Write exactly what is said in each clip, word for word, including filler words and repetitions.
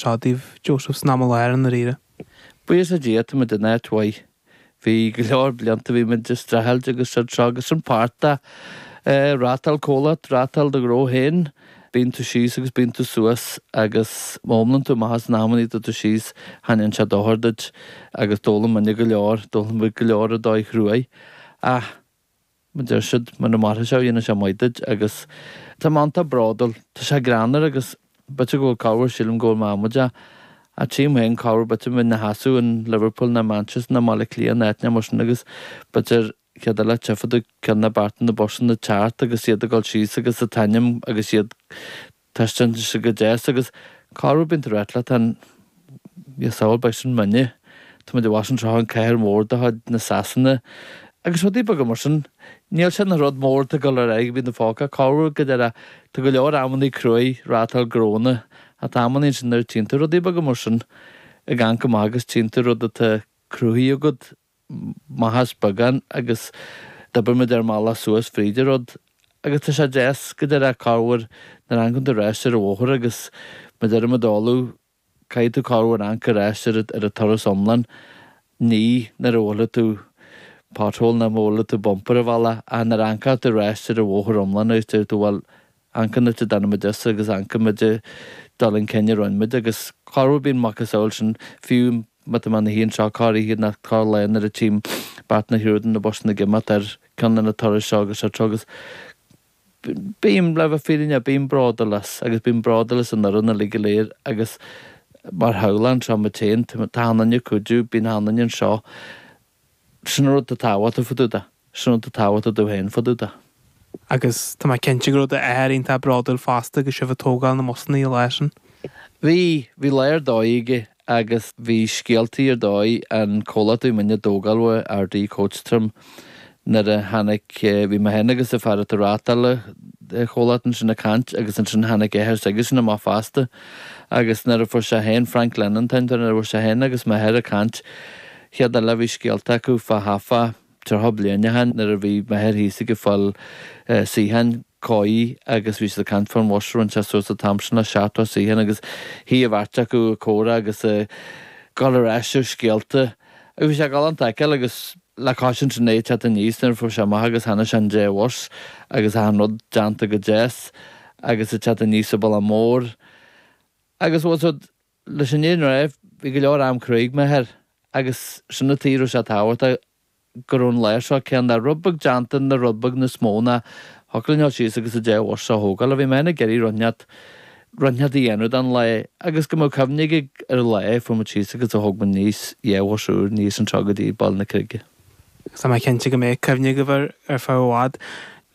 seo daoibh Joseph san am i láthair i ndáiríre. Buíochas le Dia tá muid in áit mhaith. Bhí go leor blianta bhí muid ag streachailt agus seo agus an páirt de reáchtáil comhlacht, reáchtáil do ghnó féin, bíonn tú síos agus bíonn tú suas agus má iomlann tú amach as na hamannaí tá tú síos thaitníonn sé dochar duit agus d'fhoghlaim muidne go leor, d'fhoghlaim muid go leor ar dóigh chruaidh. Ach mar deir siad muna mairfidh sé dhéanfaidh sé maith duit agus tá mé iontach bródúil, tá sé greannmhar agus b'fhéidir go bhfuil corruair sílim go bhfuil mé amaideach ach tchím féin corruair b'fhéidir mé ina sheasamh in Liverpool nó Manchester nó Baile Átha Cliath nó áit mar sin agus b'fhéidir chéad eile tchífidh tú ceann nó beirt de na busanna ag teacht agus iad ag dul síos agus an t-ainm agus iad taispeánta go deas agus corruair bíonn tú ag rá leat féin samhail beidh sin muidne tá muid i bhfad anseo an cathair mhór de chuid na Sasana agus rudaí beaga mar sin níl sé ina rud mór ag dul ar aghaidh bíonn na fágtha corruair go deireadh tá go leor amannaí cruaidh reáchtáil gnónna ach tá amannaí ansin nuair a tchíonn tú rudaí beaga mar sin ag amharc amach agus tchíonn tú rud atá cruthaithe agat maith as beagán agus d'oibir muid ar an mbealach suas fríd an rud agus tá sé deas go deireadh corruair nuair a amharcann tú ar ais ar an bhóthar agus má deirim ag dóladh caithfidh tú corruair amharc ar ais ar ar an turas iomlán ní nuair a bhuailfidh tú pothole nó má bhuailfidh tú bumper ar bhealach ach nuair a amharcann tú ar ais ar an bhóthar iomlán agus deir tú bhuel amharc an áit a dtáinig muid as agus amharc muid dul chun cinn a rinne muid agus corruair bíonn macasamhail sin fiú má tá mé ina shuí anseo corr-oíche nó corr-lá nuair a tchím beirt nó triúr de na busanna ag imeacht ar ceann de na turais seo agus seo agus bím le bheith fírinneach bím bródúil as agus bím bródúil as an fhoireann uilig go léir agus mar theaghlach anseo muid féin tá achan duine ag cuidiú bíonn achan duine anseo sin an rud atá tábhachtach fá dtaobh de sin an rud atá tábhachtach domh féin fá dtaobh de. Agus tá mé cinnte go raibh d'athair iontach bródúil fosta agus sibh ag tógáil na mbusanna an lá sin. Bhí bhí lá ar dóigh aige agus bhí scéaltaí ar dóigh an comhlacht a bhí muidne ag tógáil uaidh RD Coach Trim nuair a tháinig bhí mé féin agus an fear atá ag reáchtáil an chomhlacht ansin ag caint agus ansin tháinig athair s'aigesean amach fosta agus nuair a fuair sé féin Frank Lennon an t-ainm nuair a fuair sé féin agus m'athair ag caint chéad eile bhí scéalta acu fá thaifeadh tríocha bliain ó shin nuair a bhí m'athair thíos ag fáil suíocháin cóí agus bhí siad ag caint fán bhus a rinne sé suas an t-am sin le seachtó suíochán agus shuigh an bheirt acu ag comhrá agus ag dul ar ais ar scéalta agus bhí sé galánta a fheiceáil agus le cois ansin é ag teacht aníos nuair a fuair sé amach agus tháinig sé an deich bhus agus achan rud déanta go deas agus ag teacht aníos an bealach mór agus bhfuil siad leis an fhírinne a rá bhí go leor am cruaidh ag m'athair agus sin an tuige a raibh sé tábhachtach go raibh an lá seo céanna rud beag déanta nó rud beag níos mó ná thiocfadh linn dul síos agus an deich bhus seo a thógáil. Bhí mé ag iarraidh rud inteacht rud inteacht a dhéanamh don lá agus go mbeadh cuimhne aige ar an lá a fuair muid síos agus a thóg muid aníos dhá bhus úr aníos anseo go dtí Baile na Creige. Tá mé cinnte go mbeidh cuimhne agaibh air ar feadh i bhfad.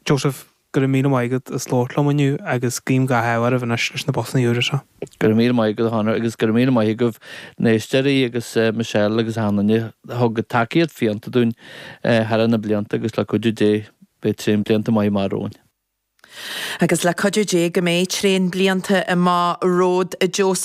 Joseph, go raibh míle maith agat as labhairt liom inniu agus guím gach ádh oraibh anois leis na busanna úra seo. Go raibh míle maith agat a Chonor agus go raibh míle maith agaibh na héisteoirí agus Michelle agus achan duine a thug tacaíocht fiúntach dúinn thar na blianta agus le cuidiú Dé beidh tréan blianta maith amach romhainn. Agus le cuidiú Dé go mbeidh tréan blianta amach romhat a Joseph.